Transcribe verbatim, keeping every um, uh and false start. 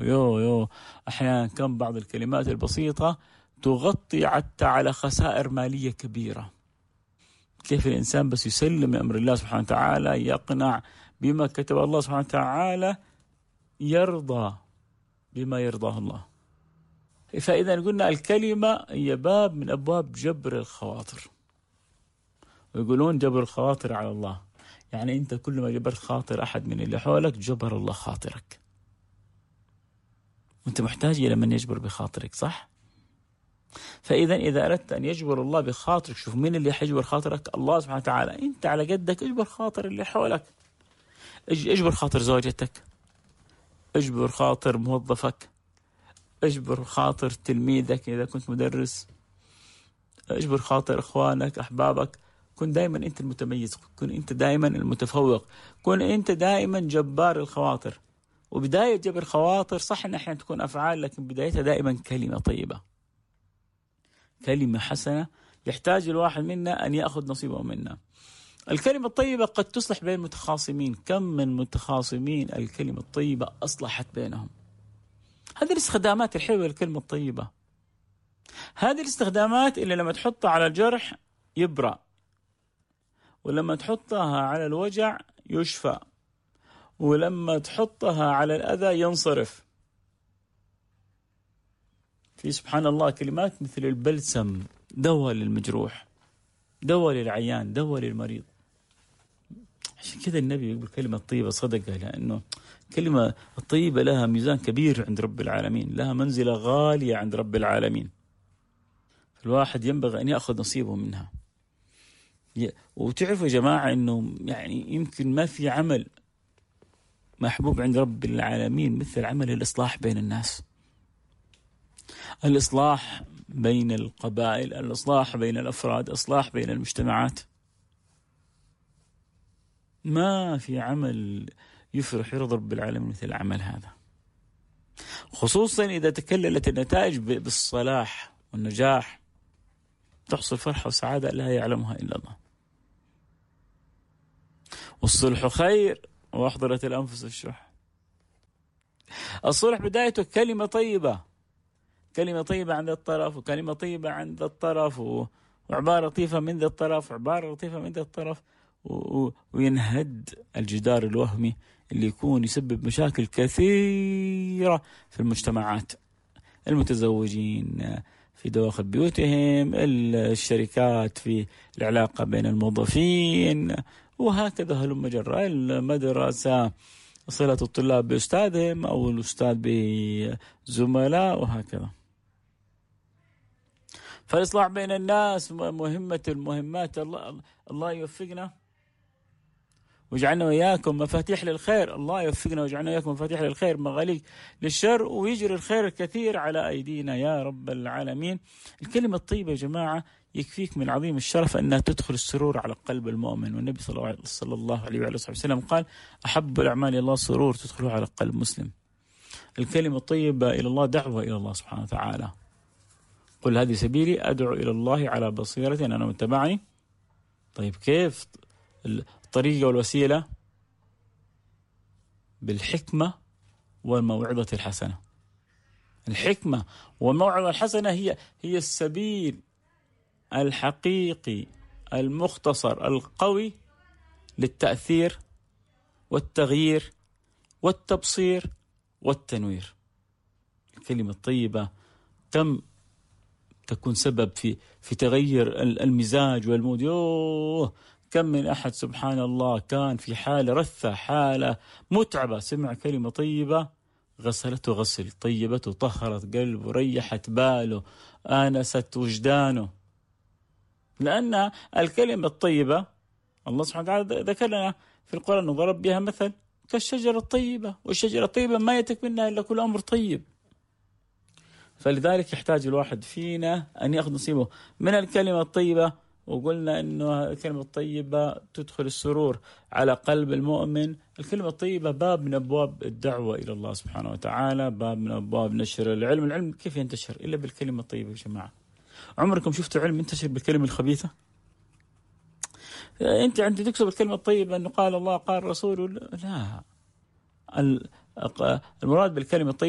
يو يو أحيانا كم بعض الكلمات البسيطة تغطي حتى على خسائر مالية كبيرة. كيف الإنسان بس يسلم أمر الله سبحانه وتعالى، يقنع بما كتب الله سبحانه وتعالى، يرضى بما يرضاه الله. فإذا قلنا الكلمة هي باب من أبواب جبر الخواطر، ويقولون جبر الخواطر على الله، يعني أنت كل ما جبرت خاطر أحد من اللي حولك جبر الله خاطرك، وأنت محتاج إلى من يجبر بخاطرك، صح؟ فإذا إذا أردت أن يجبر الله بخاطرك، شوف مين اللي حيجبر خاطرك؟ الله سبحانه وتعالى. أنت على قدك اجبر خاطر اللي حولك، اجبر خاطر زوجتك، اجبر خاطر موظفك، اجبر خاطر تلميذك إذا كنت مدرس، اجبر خاطر إخوانك أحبابك. كن دائما أنت المتميز، كن أنت دائما المتفوق، كن أنت دائما جبار الخواطر. وبداية جبر الخواطر صح إن أحيانا تكون أفعال، لكن بدايتها دائما كلمة طيبة، كلمة حسنة يحتاج الواحد منا أن يأخذ نصيبه منها. الكلمة الطيبة قد تصلح بين متخاصمين، كم من متخاصمين الكلمة الطيبة أصلحت بينهم. هذه الاستخدامات الحلوة للكلمة الطيبة، هذه الاستخدامات اللي لما تحطها على الجرح يبرأ، ولما تحطها على الوجع يشفى، ولما تحطها على الأذى ينصرف. في سبحان الله كلمات مثل البلسم، دواء للمجروح، دواء للعيان، دواء للمريض. عشان كذا النبي يقول كلمة طيبة صدقة، لأنه كلمة الطيبة لها ميزان كبير عند رب العالمين، لها منزلة غالية عند رب العالمين. الواحد ينبغي أن يأخذ نصيبه منها. وتعرفوا يا جماعة أنه يعني يمكن ما في عمل محبوب عند رب العالمين مثل عمل الإصلاح بين الناس، الإصلاح بين القبائل، الإصلاح بين الأفراد، إصلاح بين المجتمعات. ما في عمل يفرح يرضى رب العالمين مثل عمل هذا، خصوصا إذا تكللت النتائج بالصلاح والنجاح، تحصل فرحة وسعادة لا يعلمها إلا الله. والصلح خير وأحضرت الأنفس الشح. الصلح بدايته كلمة طيبة، كلمة طيبة عند الطرف، وكلمة طيبة عند الطرف، وعبارة لطيفة من ذا الطرف، وعبارة لطيفة من ذا الطرف، وينهد الجدار الوهمي اللي يكون يسبب مشاكل كثيرة في المجتمعات، المتزوجين في دواخل بيوتهم، الشركات في العلاقة بين الموظفين، وهكذا هلم جرى، المدرسة صلة الطلاب بأستاذهم أو الأستاذ بزملاء، وهكذا. فالإصلاح بين الناس مهمة المهمات. الله, الله يوفقنا ويجعلنا وإياكم مفاتيح للخير، الله يوفقنا ويجعلنا وإياكم مفاتيح للخير، مغاليق للشر، ويجري الخير الكثير على أيدينا يا رب العالمين. الكلمة الطيبة يا جماعة يكفيك من عظيم الشرف أنها تدخل السرور على قلب المؤمن. والنبي صلى الله عليه وآله وسلم قال: أحب الأعمال إلى الله سرور تدخله على قلب مسلم. الكلمة الطيبة إلى الله دعوة إلى الله سبحانه وتعالى. قل هذه سبيلي أدعو إلى الله على بصيرة أنا متبعني. طيب كيف الطريقة والوسيلة؟ بالحكمة والموعظة الحسنة. الحكمة والموعظة الحسنة هي هي السبيل الحقيقي المختصر القوي للتأثير والتغيير والتبصير والتنوير. الكلمة الطيبة كم تكون سبب في في تغير المزاج والمود. يوه كم من أحد سبحان الله كان في حالة رثة، حالة متعبة، سمع كلمة طيبة غسلته غسل، طيبته طهرت قلبه، ريحت باله، آنست وجدانه. لأن الكلمة الطيبة الله سبحانه وتعالى ذكر لنا في القرآن وضرب بها مثل كالشجرة الطيبة، والشجرة الطيبة ما يتك منها إلا كل أمر طيب. فلذلك يحتاج الواحد فينا أن يأخذ نصيبه من الكلمة الطيبة. وقلنا أنه الكلمة الطيبة تدخل السرور على قلب المؤمن. الكلمة الطيبة باب من أبواب الدعوة إلى الله سبحانه وتعالى، باب من أبواب نشر العلم. العلم كيف ينتشر إلا بالكلمة الطيبة يا جماعة؟ عمركم شفتوا علم ينتشر بالكلمة الخبيثة؟ أنت عندي تكسب الكلمة الطيبة أنه قال الله قال رسوله، لا، المراد بالكلمة الطيبة